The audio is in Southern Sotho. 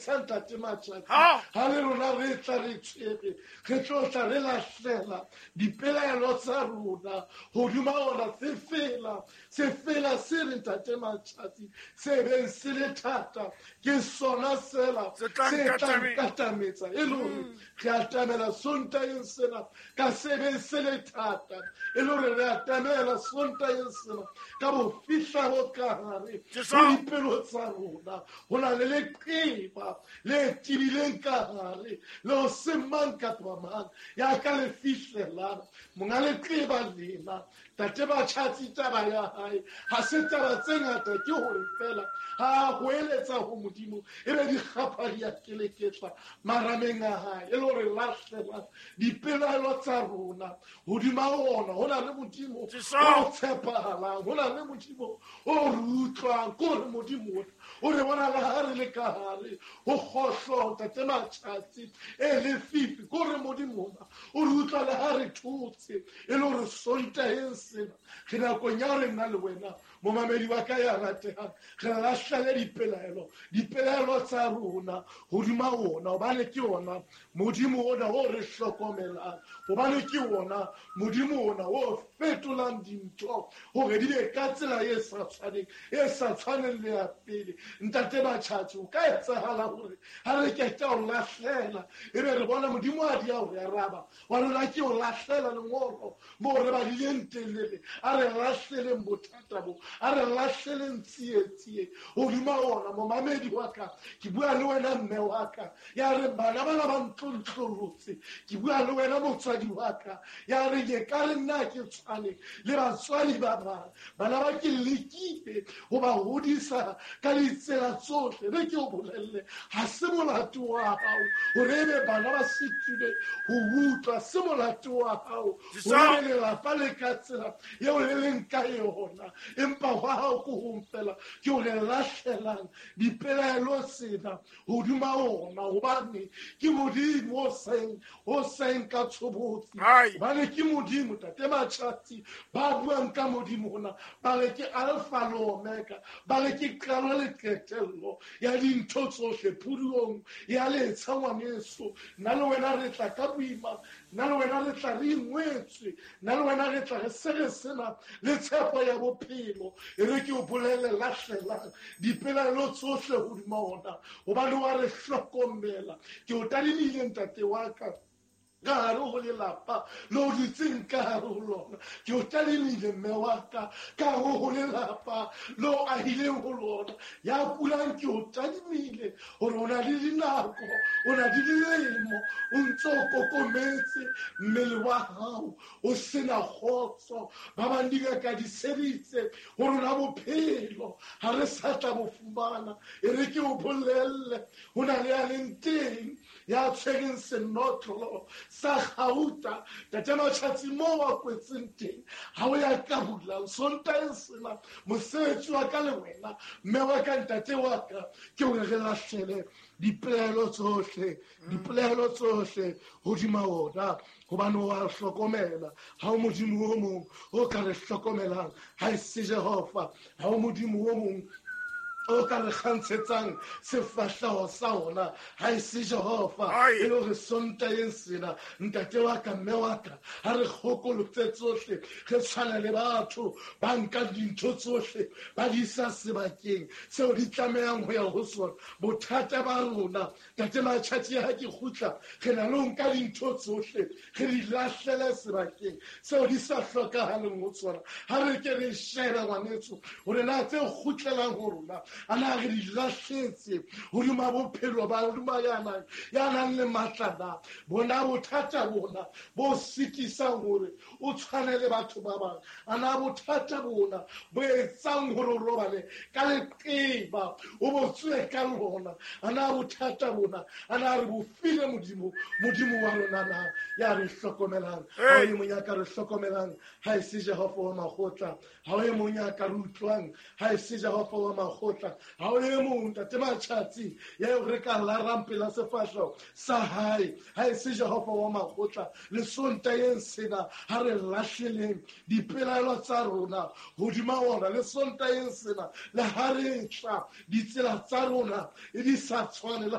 letsha ntate Matšatši ga le rona re tla re tshwere re tlo tla re lahlela dipelaelo tsa rona godima ona sefela sefela se re ntate Matšatši se beng se le thata ke sona sela se tla nkatametsa e le gore re atamela Sontaeng sena ka se beng se le thata e le gore re atamela Sontaeng sena ka bofihlabo ka gare go dipelo tsa rona go na le leqeba le tibileng ka gare le go se mang kapa mang ya ka le fihlelang monga leqeba lena tate Matšatši taba ya gae ga se taba tse ngata ke gore fela ga a goeletsa go Modimo e be dikgapha di a keleketla marameng a gae e le gore lahlela dipelaelo tsa rona godima ona. Go na le Modimo o tshepagalang, go na le Modimo o re utlwang, ke gore Modimo ona o re bona le ga re le ka gare go kgohlo tate Matšatši e lefifi, ke gore Modimo ona o re utlwa le ga re thotse e le gore Sontaeng sena re nakong ya gore nna le wena momamedi wa ka ya rategang re lahlele dipelaelo tsa rona godima ona, gobane ke ona Modimo ona o re hlokomelang, gobane ke ona Modimo ona o fetolang dintho gore di be ka tsela e sa tshwaneng e sa tshwaneng le ya pele. Ntate Matšatši o ka etsagala gore ga re keta o lahlela e be re bona Modimo a di a o re araba wa rona ke o lahlela lengolo mo re badileng teng le re a re lahleleng bothata bo, a re lahleleng tsietsie godima ona. Momamedi wa ka ke bua le wena mme wa ka ya re bana bana ba ntlontlolotse, ke bua le wena motswadi wa ka ya re ke ka re nna ke tshwane le batswadi ba bang, bana ba ke lekile go ba godisa ka ditsela tsotlhe. Re ke o bolelle ga se molato wa gago gore e be bana ba setile go utlwa, se molato wa gago gore e be lelapa le ka tsela eo le leng ka yona, empa gwa gago ko gong fela ke gore lahlelang dipelaelo tsena godima ona, gobane ke Modimo o seng ka tshobotsi, gobane ke Modimo tate Matšatši ba buang ka Modimo ona ba re ke alpha le omega, ba re ke qalo le qetello ya dintho tsohle phuduong ya letsha. Ngwaneso nna le wena re tla ka boima, nna le wena re tla re ingwetswe, nna le wena re tla re se re sena le tshepo ya bophelo. E re ke o bolele lahlelang dipelaelo tsohle hodima ona, gobane wa re hlokomela. Ke o tadimile ntate wa ka ka gare go lelapa le o dutseng ka gare go lona, ke o tadimile mme wa ka ka gare go lelapa le o ahileng go lona ya kulang, ke o tadimile gore o na le dinako, o na le dilemo o ntse o kokometse mmele wa gago o sena kgotso. Ba bang dingaka di sebitse go rona bophelo ga re sa tla bo fumana. E re ke o bolelle go na le ya leng teng ya tshwereng senotlolo sa gauta tate Matšatši mo wa kwetseng teng ga o ya ka bulang Sontaeng sena. Mosebetsi wa ka le wena mme wa ka ntate wa ka ke gore re lahlele dipelaelo tsohle dipelaelo tsohle godima ona, gobane wa hlokomela. Ga o Modimo o mongwe o ka re hlokomelang ga e se Jehova, ga o Modimo o mongwe o ka re kgantshetsang sefahlego sa ona ga e se Jehova. E le gore Sontaeng sena ntate wa ka mme wa ka ga re kgokolotse tsohle re tshwana le batho ba nka dintho tsohle ba di isa sebakeng seo di tlamehang go ya go sona. Bothata ba rona tate Matšatši ga ke kgutla re na le ho nka dintho tsohle re di lahlele sebakeng seo di sa hlokagaleng go tsona. Ga re ke re shebe ngwanetso gore na tse kgutlelang go rona a na re di lahletse hodima bophelo ba hodima ya nang le matla na. Bona bothata bona bo sitisang gore o tshwane le batho ba bang, a na bothata bona bo etsang gore o robale ka leqeba o bo tswe ka lona, a na bothata bona a na re bo file Modimo, Modimo wa rona na ya re hlokomelang. Ga o e mong ya ka re hlokomelang ga e se Jehova wa makgotla, ga o e mong ya ka re utlwang ga e se Jehova wa makgotla, ga o e mong tate Matšatši ya eo re ka larang pela sefahleho sa hae ga e se Jehova wa makgotla. Le Sontaeng sena ga re lahleleng dipelaelo tsa rona hodima ona, le Sontaeng sena le ga re tla ditsela tsa rona e di sa tshwane le